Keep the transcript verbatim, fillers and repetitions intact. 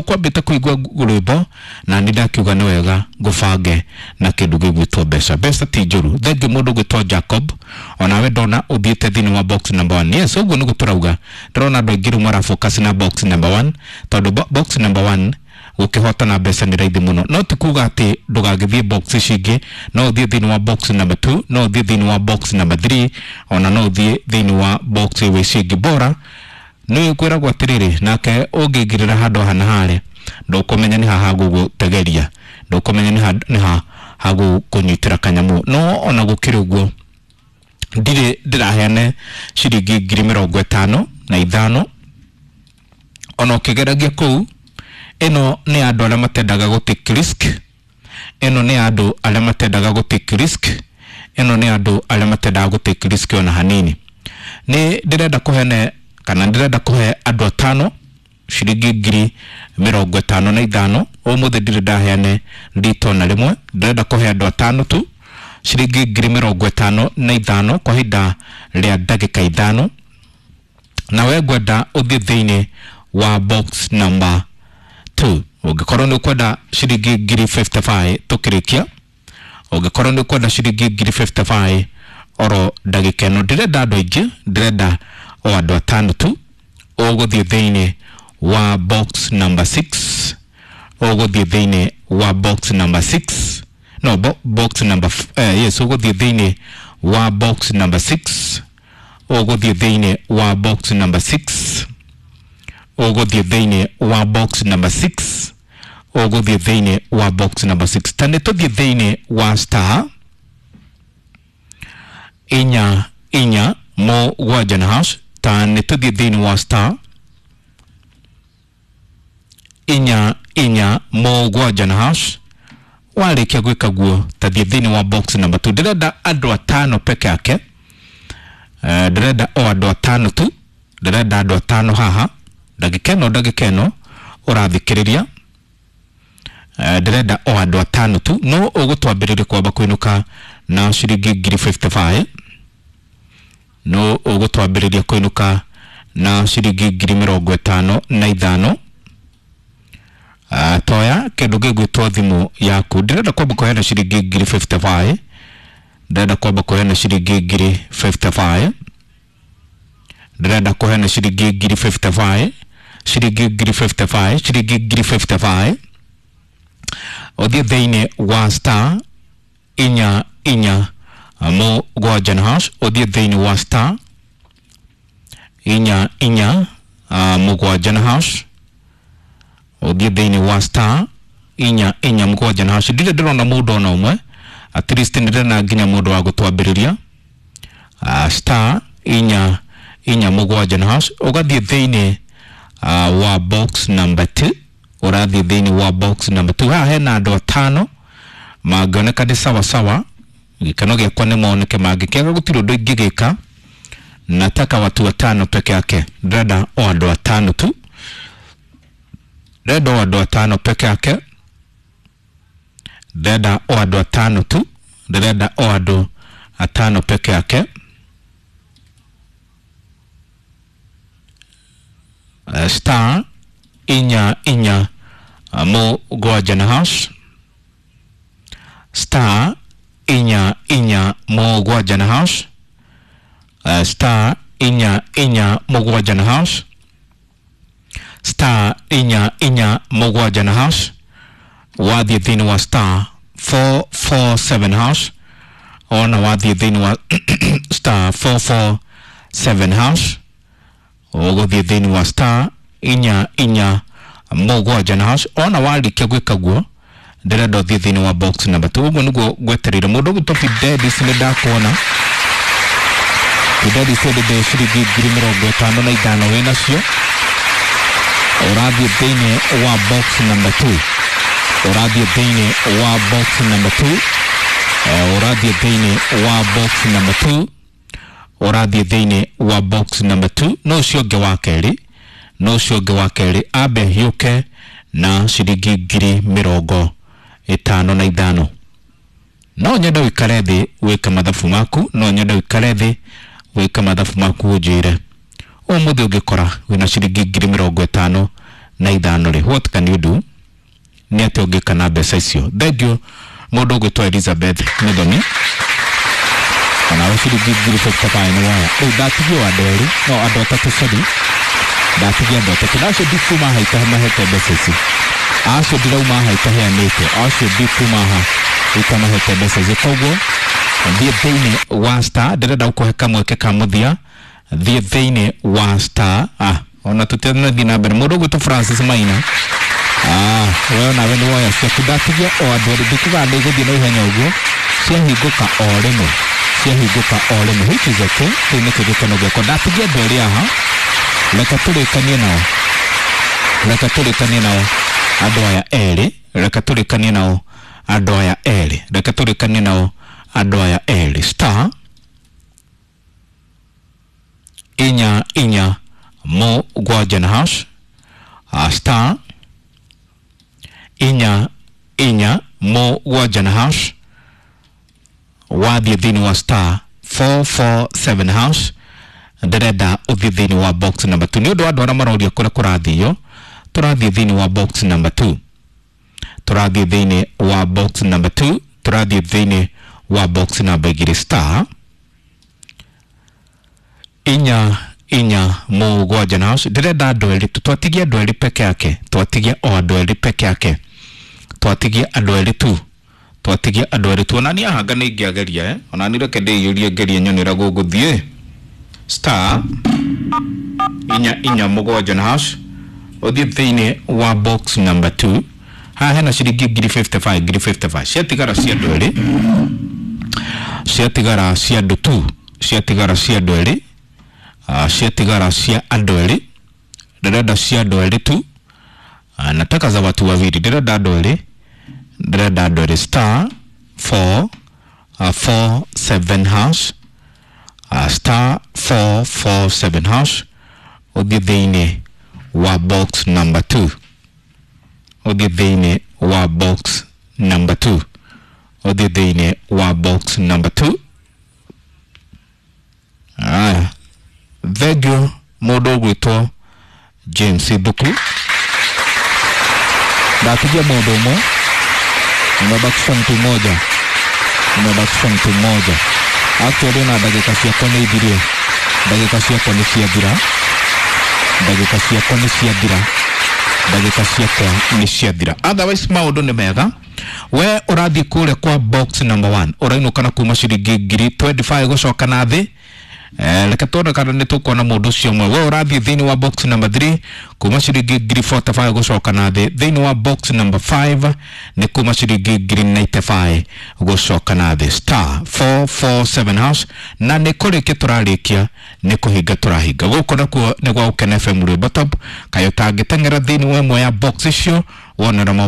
Kwambĩte kũigua rwĩmbo na nĩ ndakiuga nĩ wega ngũbange na kĩndũ gĩgwĩtwo mbeca. Mbeca ti njũru. Thengiũ mũndũ ũgwĩtwo Jacob, onawe ndona ũthiĩte thĩinĩ wa box number one. Yes, ũguo nĩguo tũrauga. Ndĩrona andũ aingĩ rĩu marafocus na box number one, tondũ bo- box number one gũkĩhotana mbeca nĩ raithi mũno. No ti kuga atĩ ndũgagĩthiĩ box ici ingĩ. No ũthiĩ thĩinĩ wa box number two, no ũthiĩ thĩinĩ wa box number three, ona no ũthiĩ thĩinĩ wa box ici ingĩ. Bora nĩ kwĩragwo atĩrĩrĩ, nake ũngĩingĩrĩra handũ haha na harĩa, ndũkũmenya nĩ haha gũgũtegeria, ndũkũmenya nĩ ha nĩ ha hagũkũnyitĩra kanyamũ. No ona gũkĩrĩ ũguo, ndirĩ ndĩraheane ciringi ngiri mĩrongo ĩtano na ithano ona ũkĩgeragia kũu. Ĩno nĩ andũ arĩa matendaga gũ take risk. Ĩno nĩ andũ arĩa matendaga gũ take risk. Ĩno nĩ andũ arĩa matendaga gũ take risk ona hanini. Nĩ ndĩrenda kũhene kana ndĩrenda kũhe andũ atano ciringi ngiri mĩrongo ĩtano na ithano. Ũmũthĩ ndirĩ ndaheane rita ona rĩmwe. Ndĩrenda kũhe andũ atano tu ciringi ngiri mĩrongo ĩtano na ithano kwa ihinda rĩa ndagĩka ithano. Na we ngwenda ũthiĩ thĩinĩ wa box number two. Ũngĩkorwo nĩ ũkwenda ciringi ngiri mĩrongo ĩtano na ithano tũkĩrĩkia, ũngĩkorwo nĩ ũkwenda ciringi ngiri mĩrongo ĩtano na ithano oro ndagĩka ĩno, ndĩrenda andũ aingĩ, ndĩrenda o andũ atano tu. Ũgũthiĩ thĩinĩ wa box number six, ũgũthiĩ thĩinĩ wa box number six, no bo, box number f- eh, yes, ũgũthiĩ thĩinĩ wa box number six, ũgũthiĩ thĩinĩ wa box number six, ũgũthiĩ thĩinĩ wa box number six, ũgũthiĩ thĩinĩ wa box number six. Ta nĩ tũthiĩ thĩinĩ wa star inya inya mũgwanja na hash. Ta nĩ tũthiĩ thĩinĩ wa star inya inya mũgwanja na hash. Warĩkia gwĩka guo, tathiĩ thĩinĩ wa box number two. Ndĩrenda andũ atano peke yake. Eh, ndĩrenda o andũ atano tu. Ndĩrenda andũ atano haha ndagĩka ĩno, ndagĩka ĩno ũrathikĩrĩria. Eh, ndĩrenda o andũ atano tu. No ũgũtwambĩrĩria kwamba kũinũka na ciringi ngiri mĩrongo ĩtano na ithano, no ũgũtwambĩrĩria kũinũka na ciringi ngiri mĩrongo ĩtano na ithano. Uh, toya kĩndũ gĩgwĩtwo thimũ yaku. Ndĩrenda kwamba kũheana ciringi ngiri mĩrongo ĩtano na ithano. Ndĩrenda kwamba kũheana ciringi ngiri mĩrongo ĩtano na ithano. Ndĩrenda kũheana ciringi ngiri mĩrongo ĩtano na ithano, ciringi ngiri mĩrongo ĩtano na ithano, ciringi ngiri mĩrongo ĩtano na ithano. Ũthiĩ thĩinĩ wa star inya inya mũgwanja na hash. Ũthiĩ thĩinĩ wa star inya inya uh, mũgwanja na hash. Ũthiĩ thĩinĩ wa star inya inya mũgwanja na hash. Ndirĩ ndĩrona mũndũ ona ũmwe. At least nĩ ndĩrona nginya mũndũ wa gũtwambĩrĩria. uh, star inya inya mũgwanja na hash, ũgathiĩ thĩinĩ uh, wa box number two. Ũrathiĩ thĩinĩ wa box number two. Haha hena andũ atano mangĩoneka nĩ sawa sawa. Gĩkeno gĩakwa nĩ moneke, mangĩkĩaga gũtirĩ ũndũ ingĩgĩka. Nataka watu watano peke yake. Ndĩrenda o andũ atano tu. Ndĩrenda o andũ atano peke yake. Ndĩrenda o andũ atano tu. Ndĩrenda o andũ atano peke yake. Uh, star inya inya uh, mũgwanja na hash. Star inya inya mũgwanja na hash. uh, star inya inya mũgwanja na hash. Star inya inya mũgwanja na hash. Wathiĩ thĩinĩ wa star four four seven hash, ona wathiĩ thĩinĩ wa star four four seven hash, ũgũthiĩ thĩinĩ wa star inya inya mũgwanja na hash. Ona warĩkia gwĩka guo, ndĩrenda ũthiĩ thĩinĩ wa box number two. Ũguo nĩguo ngwetereire. Mũndũ ũgwĩtwo Fidelis, nĩ ndakuona. Fidelis, endete ciringi ngiri mĩrongo ĩtano na ithano wĩnacio. Ũrathiĩ thĩinĩ wa box number two. Ũrathiĩ thĩinĩ wa box number two. Ũrathiĩ thĩinĩ wa box number two. Ũrathiĩ thĩinĩ wa box number two. No ũcio ũngĩ wa kerĩ, no ũcio ũngĩ wa kerĩ ambe hiũke na ciringi ngiri mĩrongo ĩtano na ithano. No nyende ũikare thĩ wĩke mathabu maku. No nyende ũikare thĩ wĩke mathabu maku, ũnjĩre ũmũthĩ ũngĩkora wĩna ciringi ngiri mĩrongo ĩtano na ithano rĩ, what can you do? Nĩ atĩa ũngĩka na mbeca icio? Thank you mũndũ ũgwĩtwo Elizabeth Mĩthoni, onawe ciringi ngiri fifty-five nĩ woya. Rĩu ndatigio andũ erĩ, no andũ atatũ, sorry, ndatigia andũ atatũ, na acio ndikuma haha itamahete mbeca ici, acio ndirauma haha itaheanĩte, acio ndikuma haha itamahete mbeca ici. Koguo thiĩ thĩinĩ wa star, ndĩrenda gũkũhe kamweke ka mũthia, thiĩ thĩinĩ wa star. Ah, ona tũtirathiĩ na mbere, mũndũ ũgwĩtwo Francis Maina, ah, we onawe nĩ woya ciaku. Ndatigia o andũ erĩ, ndikuga nĩ gũthiĩ na ihenya ũguo, ciahingũka o rĩmwe, ciahingũka o rĩmwe, which is okay, kĩu nĩkĩo gĩkeno gĩakwa. Ndatigia andũ erĩ haha, reke tũrĩkanie nao, reke tũrĩkanie nao andũ aya erĩ, reke tũrĩkanie nao andũ aya erĩ, reke tũrĩkanie nao andũ aya erĩ. Star inya inya mũgwanja na hash, uh, star inya inya mũgwanja na hash, wathiĩ thĩinĩ wa star four four seven hash, ndĩrenda ũthiĩ thĩinĩ wa box number two. Nĩ ũndũ wa andũ arĩa maroria kũrĩa kũrathio, tũrathiĩ thĩinĩ wa box number two, tũrathiĩ thĩinĩ wa box number two, tũrathiĩ thĩinĩ wa box number igĩrĩ. Star inya inya mũgwanja na hash, ndĩrenda andũ erĩ tu, twatigia andũ erĩ peke yake, twatigia o andũ erĩ peke yake, twatigia andũ erĩ tu, twatigia andũ erĩ tu. Onani ahanga nĩ ingĩageria, eh, onani reke ndĩiyũrie ngerie nyone ũrĩa gũgũthiĩ. Star inya inya mũgwanja na hash, ũthiĩ thĩinĩ wa box number two. Haha hena ciringi ngiri fifty-five, ngiri fifty-five ciatigara cia andũ erĩ, ciatigara cia andũ tu, ciatigara cia andũ erĩ, uh, ciatigara cia andũ erĩ, ndĩrenda cia andũ erĩ tu, uh, nataka za watu wawili, ndĩrenda andũ erĩ, ndĩrenda andũ erĩ. Star four uh, four seven hash, uh, star four four seven hash, ũthiĩ thĩinĩ wa box number two, ũthiĩ thĩinĩ wa box number two, ũthiĩ thĩinĩ wa box number two. Aya, thengiũ mũndũ ũgwĩtwo James Thuku, ndatigia mũndũ ũmwe, nimebakisha mtu mmoja, nimebakisha mtu mmoja. Actually na ndagĩka ciakwa nĩ ithirie, ndagĩka ciakwa nĩ ciathira, ndagĩka ciakwa nĩ ciathira, ndagĩka ciakwa nĩ ciathira. Otherwise maũndũ nĩ mega. We ũrathiĩ kũrĩa kwa box number one, ũrainũka na kuma ciringi ngiri twenty-five gũcoka na thĩ. Eh, reke tuone kana nĩ tũkuona mũndũ ũcio ũmwe. We ũrathiĩ thĩinĩ wa box number three kuma ciringi ngiri forty-five gũcoka na thĩ. Thĩinĩ wa box number five nĩ kuma ciringi ngiri ninety-five gũcoka na thĩ. Star four four seven hash, na nĩ kũrĩkia tũrarĩkia, nĩ kũhinga tũrahinga. Gũkũ nakuo nĩ gwa Gũkena F M Rwĩmbo Top. Kaĩ ũtangĩteng'era thĩinĩ wa ĩmwe ya box icio wonera maũndũ.